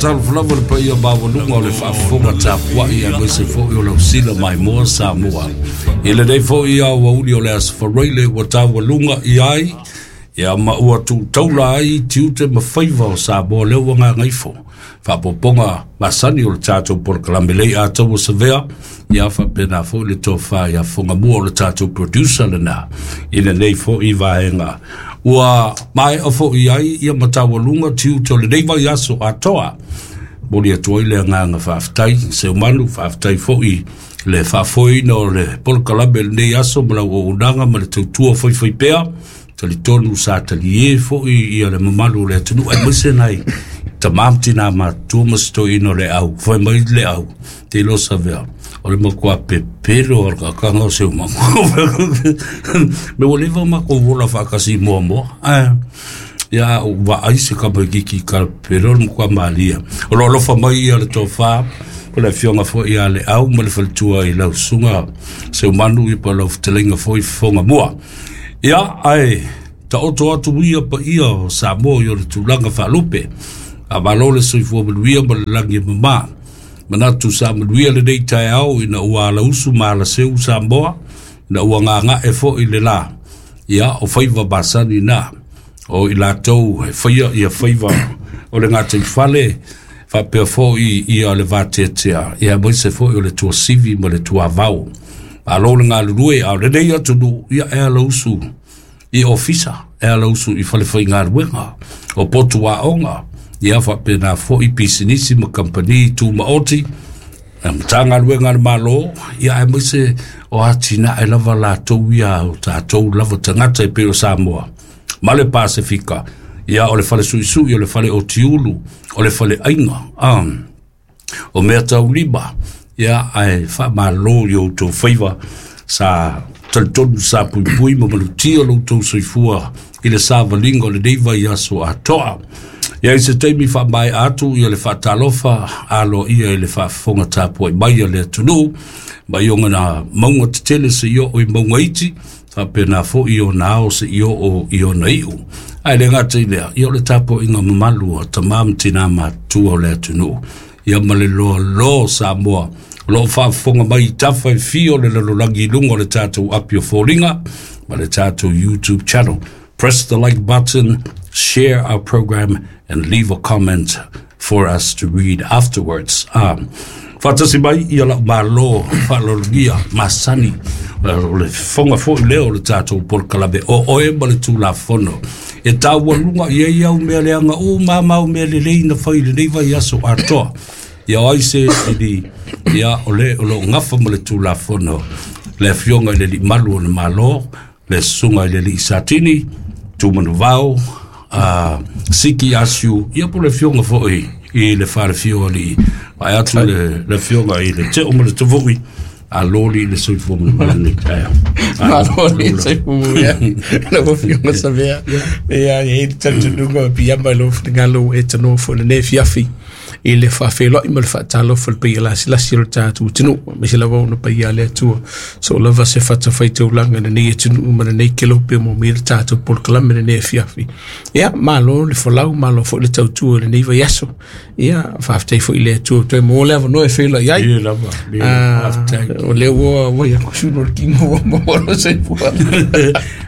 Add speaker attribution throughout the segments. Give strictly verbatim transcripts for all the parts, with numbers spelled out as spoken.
Speaker 1: Faatalofa lava le paia maualuga o le faafofoga tapuai aemaise foi o le ausila maimoa Samoa. I lenei foi aoauli o le Aso Faraile ua taualuga i ai, ia ma ua tuutaula ai tiute ma faiva o Samoa lea ua gagaifo. Faapopoga masani o le tatou polokalame lei ataua savea, ia faapena foi le tofa ia Fogamua o le tatou producer lena i lenei foi vaega. Ua maea foi ai ia mataualuga tiute o lenei vaiaso atoa. Moli atu ai le agaga faafetai, Seumanu, faafetai foi le faafoeina o le polokalame lenei aso ma lau auaunaga ma le tautua faifaipea. Talitonu sa talie foi ia le mamalu o le atunuu aemaise nai tamā ma tinā matutua ma se toeaina o le au, fai mai le au, te iloa savea, o le matua pepelo o le kakanga o Seumanu. Me ua leva matou ola faatasi muamua. Eh, ia ou vaai se kamaikiki ka pepelo le matua malia. O lo alofa mai ia le tofa, o le afioga foi ia le au ma le faletua i lau susuga Seumanu i pa lau fetalaiga foi Fogamua. Ia, ae taoto atu ia paia o Samoa i o le tulaga faalupe. A malo le soifua manuia ma le lagi e mamā. Manatu sa manuia lenei taeao ina ua alausu ma alaseu Samoa, ina ua gagae foi le la. Ia, o faiva masani na, o i latou e faia ia faiva o le gataifale, faapea foi ia le vateatea, ia aemaise foi o le tuasivi ma le tuavao. Malo le galulue, a o lenei atunuu, ia e alausu i ofisa, e alausu i falefaigaluega, o potu aoga, ia faapena foi pisinisi ma kampani tumaoti, Matagaluega a le Malo, ia aemaise o atinae lava latou ia o tatou lava tagata e pei o Samoa ma le Pasefika, ia o le fale suisui, o le fale otiulu, o le fale aiga, um, o mea taulima, ia ae faamalo i outou faiva sa talitonu sa puipui ma malutia lo outou soifua i le savaliga o lenei vaiaso atoa. Ia i se taimi faamaea atu ia le faatalofa aloaia i le faafofoga tapuai mai a le atunuu mai ona mauga tetele seia oo i mauga iti, faapena foi i ona ao seia oo i ona iu. Ae le gata i lea, ia o le tapuaiga mamalu a tamā ma tinā matutua o le atunuu, ia ma le loaloa o Samoa o lo o faafofoga mai i tafa e fia o le lalolagi i luga o le tatou api o foliga ma le tatou YouTube channel. Press the like button, share our program, and leave a comment for us to read afterwards. Um, faatasi mai ia lau malo faaaloalogia masani o le fofoga foi lea o le tatou polokalame o oe ma le Tulafono. E taualuga i ai au mea leaga uma ma au mea lelei na fai i lenei vaiaso atoa. Ia o ai se ili, ia o le o loo gafa ma le Tulafono, le afioga i le Alii Malu o le Malo, le susuga i le Alii Satini, Tumanuvao, uh, Siki Asiu, ia po le afioga foi i le falefio alii, vae atu le, le afioga i le Teo ma le Tavui, a loli le soifua manuia lenei taeao.
Speaker 2: Malo le soifua manuia lau afioga Savea. Ia, e i ai le talitonuga o piiama i lou finagalo e tanoa foi lenei afiafi i le faafeiloai ma le faatalofa i le paia lasilasi o le tatou atunuu, aemaise lava ona paia a le Atua. So lava se fatafaitaulaga i lenei atunuu ma lenei kelope mo mea le tatou polokalame lenei afiafi. Ia, malo le folau, malo foi le tautua i lenei vaiaso. Ia, faafetai foi i le Atua toe maua le avanoa e feiloai ai.
Speaker 1: Ie lava, ie, faafetai.
Speaker 2: O lea ua ua ia kusulu o le kimo ua maua lo soifua.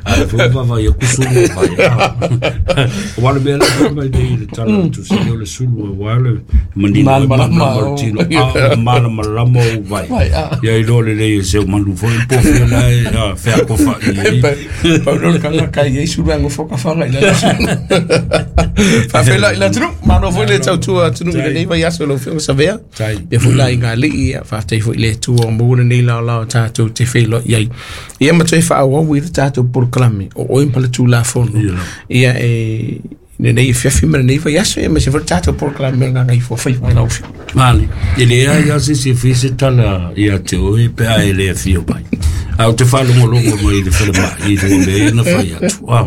Speaker 1: Ai foi vava ia kusulu vai. O le mea le mai nei le tala tu se o le sulu o le manino e
Speaker 2: Malamalama
Speaker 1: mana
Speaker 2: o.
Speaker 1: o tino a malamalama o vai.
Speaker 2: Vai, a.
Speaker 1: Ia i lo le lei se o manu foi po fia lai a fea ko fa i.
Speaker 2: Pau no le kanga kai ei sulu ango foka whanga i la sulu. Faafeiloai le atunuu, malo foi le tautua atunuu i lenei vaiaso lau afioga Savea.
Speaker 1: Tai.
Speaker 2: Ia foi la i ngā alii, ia faafetai foi i le Atua o maua lenei laolao tatou te feiloai ai. Ia ma toe faaauau i le tatou polokalame o oe ma le Tulafono.
Speaker 1: Ia lava.
Speaker 2: Ia e lenei afiafi ma lenei vaiaso, ia aemaise foi le tatou polokalame o le Gagaifo Faiva i lau afioga.
Speaker 1: Mali, e leai lava se isi e fai se tala ia te oe pe a e le afio mai. A o te faalogologo mai i le falemai i luga o mea ia na fai atu. Ah.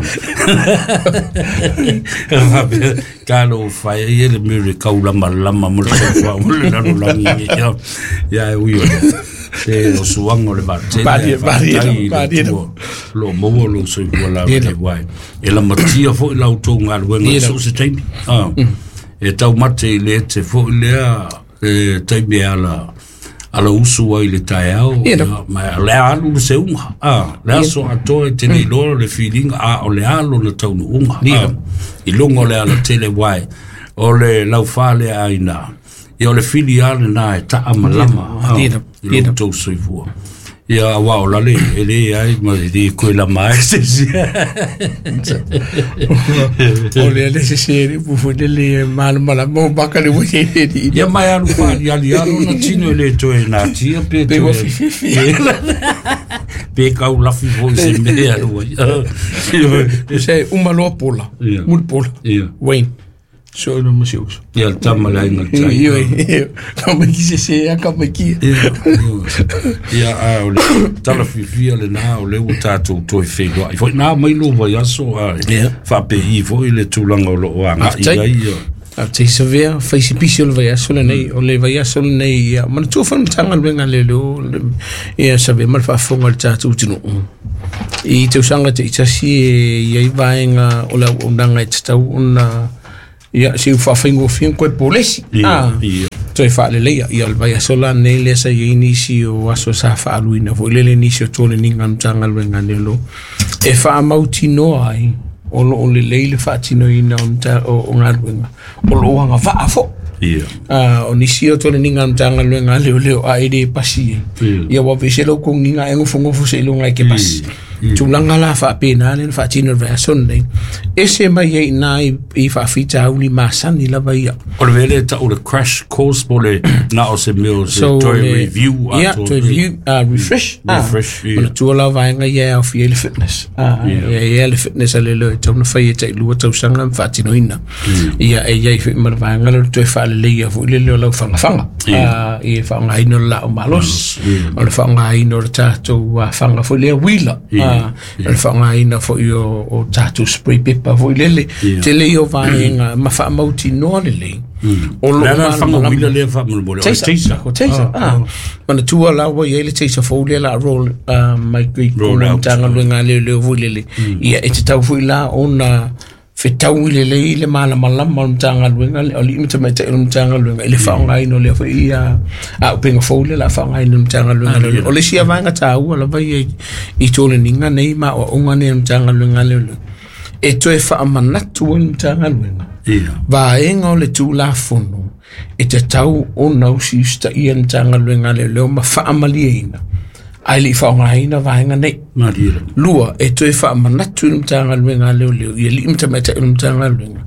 Speaker 1: Faapea, talo fai ai e le mea o le kaulamalama ma le soifua ma le lalolagi. Ia, ia e ui o lea. Se o suaga o le vaatele,
Speaker 2: Malie,
Speaker 1: ae faafetai
Speaker 2: malie,
Speaker 1: i le
Speaker 2: malie.
Speaker 1: Atua. Lo maua lou soifua
Speaker 2: Ie
Speaker 1: laulelei
Speaker 2: lava.
Speaker 1: uae. E lamatia foi la outou galuega
Speaker 2: Ie
Speaker 1: i
Speaker 2: lava.
Speaker 1: so o se taimi. Ah. E taumate i le ete fo'i lea e taimi ala ala usu ai le taeao ma le alu le seuga a le aso atoa e te le iloa le filiga a o le alo na taunuuga i luga o le alatele uae o le laufā lea aiga ia o le fili a lenā e taamalama i lo outou soifua ia auā o lale e lē ai ma e lē koe lama ai se isi
Speaker 2: o le le sese le upu foi lele malamalama o maka le ua i
Speaker 1: ia mai alu faaliali alo na tino e lē toe natia pe
Speaker 2: pe ua fififi
Speaker 1: pe kau lafi foi se mea alu ai
Speaker 2: se uma loa pola muli pola Wayne so no mo se uso
Speaker 1: ia le tama le aiga le tai
Speaker 2: ioe ka mai ki se se ka mai ki
Speaker 1: ia a o le tala fiafia lenā o lea ua tatou toe feiloai foi nā mai lou vaiaso a faapei foi le tulaga o loo aga'i ai
Speaker 2: a te savea fai se pisi o le vaiaso lenei o le vaiaso lenei ia manatua foi le Matagaluega le leo ia savea ma le faafofoga o le tatou atunuu i tausaga taitasi e iai vaega o le auaunaga e tatau ona ia se u faafaigofie koe polesi ah toe faaleleia ia o le vaiaso la lenei lea sa iai nisi o aso sa faaluina foi lele nisi o toleniga o le Matagaluega lelo e faamautinoa ai o loo lelei le faatinoina o o galuega o loo agavaa fo'i ah o nisi o toleniga o le Matagaluega leoleo a e lē pasi ai ia ua vese lau kogiga e gofogofo seiloga e ke pasi tulaga la faapena le na faatino le vaiaso lenei ese mai ai iná i faafitauli masani lava ia
Speaker 1: o le mea lea ta'u le crash course po le na o se mea o se toe review
Speaker 2: ia toe review refresh
Speaker 1: refresh
Speaker 2: manatua la vaega ia e aofia ai le fitness ia ia le fitness a le leo e tau na fai e tailua tausaga ma faatinoina ia e iai foi ma le vaega lea o le toe faaleleia foi lele o lau fagafaga i faaaogaina o le laau malosi o le faaaogaina o le tatou faga foi lea uila o le faaaogaina foi o o tatou spray pepper foi lele tele ia o vaega ma faamautinoa lelei o loo
Speaker 1: malamalama uila lea faamolemole o le taser
Speaker 2: o taser ah manatua la ua iai le taser fou lea la roll mai i totonu o le Matagaluega a leoleo foi lele ia e tatau foi la ona fetaui lelei le malamalama o le Matagaluega o alii ma tamaitai o le Matagaluega i le faaaogaina o lea foi ia auupega fou lea la faaaogaina e le Matagaluega leoleo o le isi vaega taua lava ia i toleniga nei ma aoaoga nei a le Matagaluega leoleo e toe faamanatu ai le Matagaluega vaega o le Tulafono e tatau ona usiusitaia le Matagaluega leoleo ma faamalieina ae lei faaaogaina vaega nei lua e toe faamanatu i le Matagaluega leoleo i alii ma tamaitai o le Matagaluega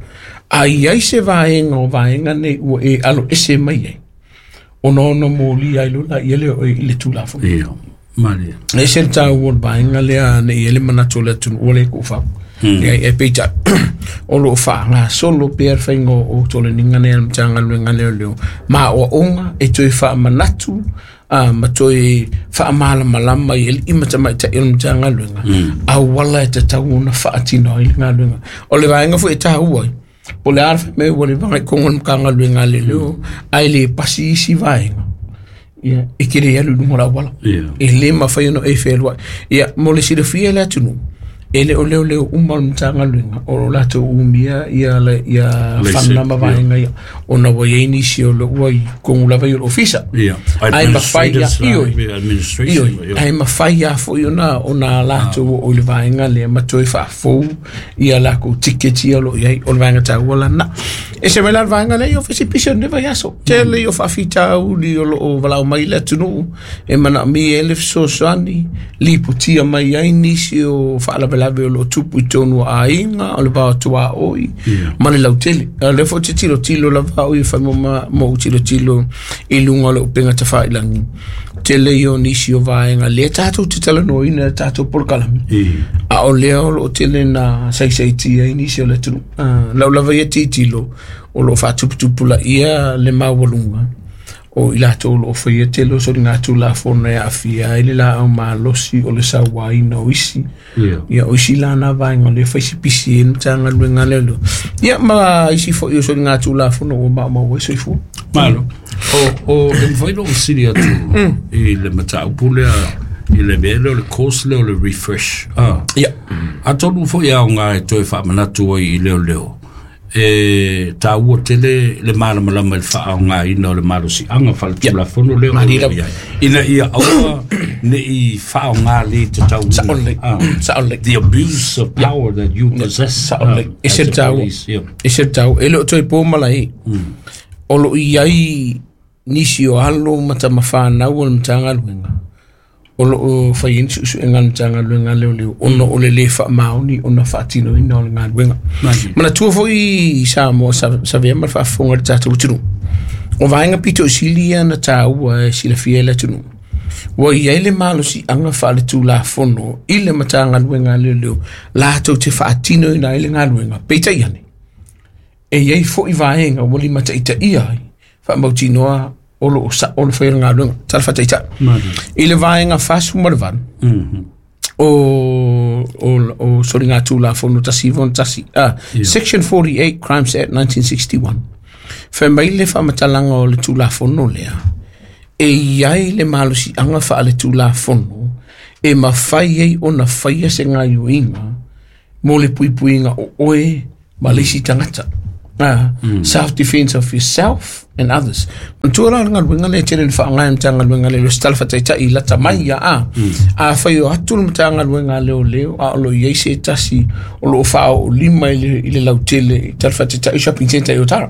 Speaker 2: a iai se vaega o vaega nei ua e alo ese mai ai ona ono molia ai loa ia lea i le Tulafono e ese le taua o le vaega lea nei ai le manatu o le atunuu o le kuufau ia e peitai o loo faagasolo pea le faiga o toleniga nei a le Matagaluega leoleo ma aoaoga e toe faamanatu a ma toe faamalamalama i alii ma tamaitai o le Matagaluega auala e tatau ona faatino ai le galuega o le vaega foi e taua ai po o le a le faimea ua leva i totonu o le Matagaluega leoleo ae lē pasi isi vaega ia e te le alu i luga o le auala e lē mafai ona e fealuai ia mo le silafia e le atunuu e le o leoleo uma o le Matagaluega o lo latou umia ia le ia fana ma vaega ia ona ua iai nisi o lo ua i totonu lava i o le ofisa ae mafai ia ioe ioe ae mafai lava foi ona ona latou oo i le vaega lea ma toe faafou ia lakou tiketi ia o loo iai o le vaega taua lana ese mai la le vaega lea ia o fesipisi o lenei vaiaso tele ia o faafitauli o loo valaau mai le atunuu e manaomia ai le fesoasoani lipotia mai ai nisi o faalavelave o loo tupu i totonu o aiga o le va o tuaoi ma le lautele o lea foi te tilotilo lava au ia fai ma ou tilotilo i luga o le upega tafailagi tele ia o nisi o vaega lea tatou te talanoaina le tatou polokalame a o lea o loo tele na saisaitia ai nisi o le atunuu lau lava ia tilotilo o loo faatuputupulaia le maualuga o i latou o loo faia tele o soligatulafono e aafia ai le laau malosi o le sauaina o isi ia o isi lana vaega o lea fai sipisi ai le Matagaluega leoleo ia ma isi foi o soligatulafono ua maumau ai soifua
Speaker 1: malo o o e mafai lou sili atu i le mataupu lea i le mea lea o le course lea o le refresh ah
Speaker 2: ia
Speaker 1: atonu foi aoga e toe faamanatu ai i leoleo E tāua tele le malamalama i le faaaogāina o le malosiaga faaletulafono lea o lo o i ai ina ia aua ne i faaaogā lē tatauina. The abuse of power that you possess.
Speaker 2: Saʻolelei. Ese le taua, ese le taua e le o toe po malae o loo i ai nisi o alo ma tamafanau o le Matagaluega o loo fai ai ni suʻesuʻega a le Matagaluega leoleo ona o le lē faamaoni ona faatinoina o le galuega. Manatua foi Samoa savea ma le faafofoga i le tatou atunuu o vaega pito i sili ia na tāua e silafia i le atunuu ua i ai le malosiaga faaletulafono i le Matagaluega a leoleo latou te faatinoina ai le galuega. Peitai ane e iai foʻi vaega ua limataʻitaʻia ai faamautinoa o loo saʻo le faia o le galuega. Tala faataitaʻi i le vaega fasefulu ma le valu o o o soligatulafono tasi iva tasi, ah, Section forty-eight Crimes Act nineteen sixty-one, fai mai le faamatalaga o le tulafono lea e iai le malosiaga faaletulafono e mafai ai ona faia se gaioiga mo le puipuiga o oe ma le isi tagata. Ah, mm. Self-defense of yourself and others. Manatua la o le galuega lea tele na faaaoga e le Matagaluega leoleo se tala faataitai i lata mai ia a. A fai o atu le Matagaluega leoleo a o loo i ai se tasi o loo faaoolima i le, i le lautele i tala faataitai i shopping center i Otara.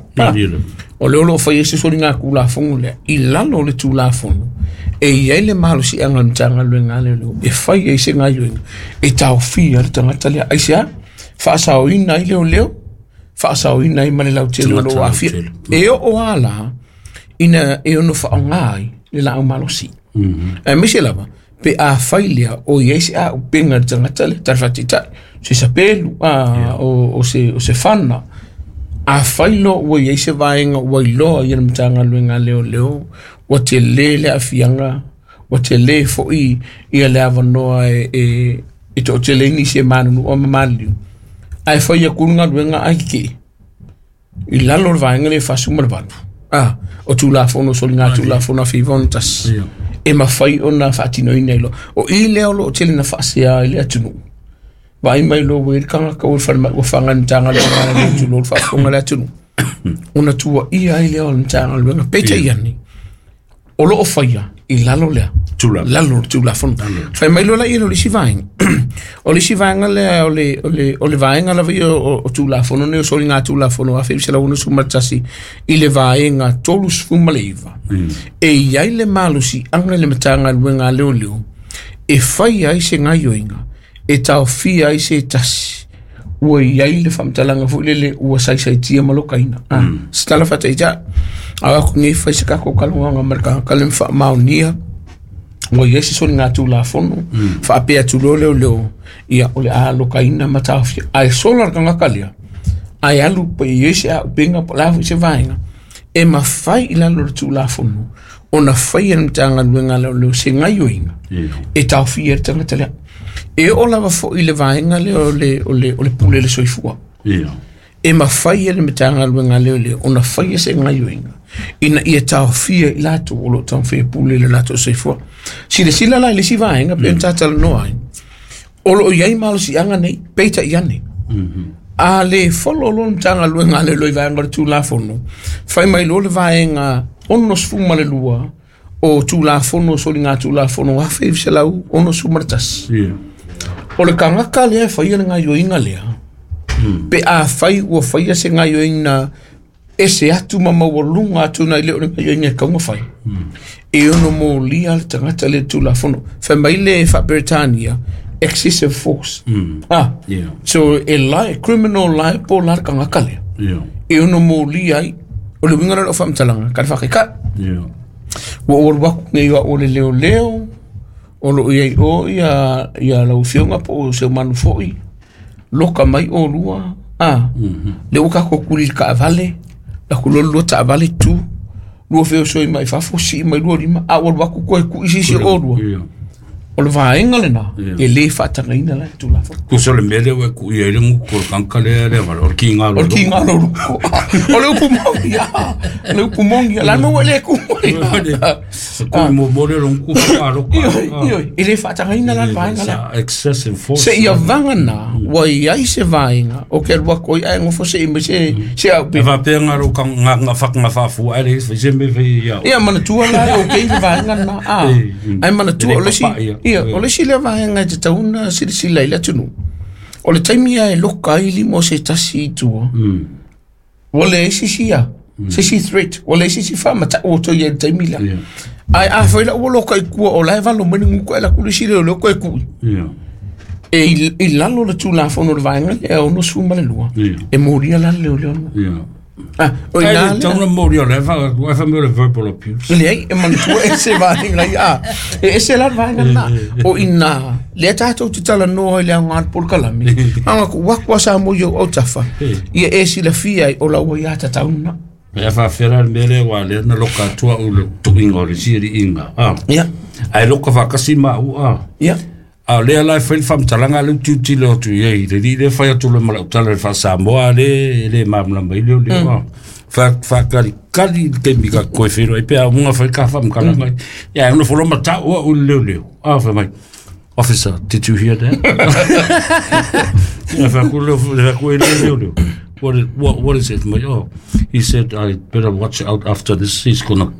Speaker 2: O lea o loo fai ai se soligatulafono lea i lalo o le tulafono e i ai le malosiaga o le Matagaluega leoleo e fai ai se gaioiga e taofia le tagata lea aisea faasaoina ai leoleo faasaoina ai ma le lautele o loo aafia. E oo a la ina e ono faaaoga ai le laau malosi. Aemaise lava pe a fai lea o i ai se auupega i le tagata lea tala faataitai se sapelu a o, o se o se fana. A fai loa ua i ai se vaega ua iloa ia le Matagaluega a leoleo ua telē le aafiaga ua telē foʻi ia le avanoa e e e toʻatele ai nisi e manunua ma maliliu ae fai aku le galuega ai kekee i lalo o le vaega lea e fasefulu ma le valu a o tulafono soligatulafono afe iva ono tasi e mafai ona faatinoina ai loa. O i lea o loo tele na faasea i le atunuu vaai mai loa ua i le tagata ua i le falemai ua faga i le Matagaluega a leoleo tulou le faafofoga a le atunuu ona tuuaia ai lea o le Matagaluega. Peitai ane o loo faia i lalo lea lalo o le tulafono. Fai mai loa laia o le isi vaega o le isi vaega lea o le o le o le vaega lava ia o, o tulafono nei o soligatulafono afe iva selau onosefulu ma le tasi i le vaega tolusefulu ma le iva e i ai le malosiaga i le Matagaluega a leoleo e fai ai se gaioiga e taofia ai se tasi ua i ai le faamatalaga foʻi lele ua saisaitia ma lokaina. Ah, se tala faataitaʻi a aku nei fai se kako kalauaga ma le tagata le faamaonia ua i ai se soligatulafono faapea atu loa leoleo ia o le a lokaina ma taofia ae sola le tagata lea ae alu pe i ai se auupega po o le a foʻi se vaega e mafai i lalo o le tulafono ona faia le Matagaluega a leoleo se gaioiga e taofia le tagata lea. E oo lava foʻi le vaega lea o le o le o le pule le soifua e mafai e le Matagaluega a leoleo ona faia se gaioiga ina ia taofia i latou o loo taumafai e pule i le latou soifua. Silasila la i le isi vaega pe ona tatalanoa ai o loo i ai malosiaga nei peitai ane a lē folo loa le Matagaluega a leoleo i vaega o le tulafono fai mai loa le vaega onosefulu ma le lua o tulafono soligatulafono afe iva selau onosefulu ma le tasi o le tagata lea e faia le gaioiga lea pe a fai ua faia se gaioiga ese atu ma maualuga atu nai le o le gaioiga e tau ona fai e ono molia le tagata lea i le tulafono. Fai mai le faa-Peretania excessive force. Ah, so e li criminal liable la le tagata lea e ono molia ai o le uiga lea o lau faamatalaga ka le faakaikaʻi ua ou alu aku nei o au o le leoleo o loo iai o ia ia lau afioga po o se manu foʻi loka mai olua a lea ua tatou tuli i le taavale laku loa le lua taavale tu lua feosoi mai fafo sii mai lua lima a ua alu atu toe tuʻi sisi o olua o le vaega lena e lē faatagaina la le tulafono.
Speaker 1: Tusa o le mea lea ua e tuʻi ai le gutu o le tagata lea lea vale o le kiga
Speaker 2: o le kiga lolo o le upu moni a le upu moni la mea ua le kumu ai.
Speaker 1: Kui mo mo le long ku fa loka.
Speaker 2: Ioe, e le faatagaina la le vaega lea.
Speaker 1: Excessive force.
Speaker 2: Se ia vaga na ua iai se vaega o ke alu atu ai ae gofo seʻi mai se se au
Speaker 1: E faapea ga lou nga nga nga faafua ai le fai se mea fai ia.
Speaker 2: Ia manatua la e okay le vaega lena a. Ae manatua o le isi ia o le isi lea vaega e tatau ona silasila i le atunuu. O le taimi lava e loka ai lima o se tasi i tua. Ua leai se isi ia se isi threat, ua leai se isi faamatau o toe i ai i le taimi lea. Ae afai la ua loka i tua o la e valo mai le gutu ae alu atu le isi leoleo toe tui. E i lalo o le Tulafono o le vaega lea e ono sefulu ma le lua, e molia la le leoleo lena. Ah, o ina
Speaker 1: lea. Tau na molia le fa fa me le verbal abuse.
Speaker 2: Leai, e manatua e se vaega ia. E ese la le vaega lena. O ina, lea tatou te talanoa i le aoga o le polokalame. Aga ku waku a sa mo i au tafa. Ia e silafia ai o lau ia tatau na.
Speaker 1: E faafera le mea lea ua lea na loka atua u le tuiga o le sialiiga. Ah.
Speaker 2: Ia.
Speaker 1: Ai loka faakasi ma u a.
Speaker 2: Ia.
Speaker 1: A o lea la e fai le faamatalaga le utiutile atu i ai le lii le fai atu le malautala le faasamoa le le malamalama i le o le fa faakalikali le taimi ka koe whenua i pea munga fai ka faamatalaga ia ona folo matau au le leo leo a fai mai, "Officer, did you hear that?" Ia fa ku leo fa ku le leo leo, what is, what, what is it?" My, oh, he said, "I better watch out after this. He's gonna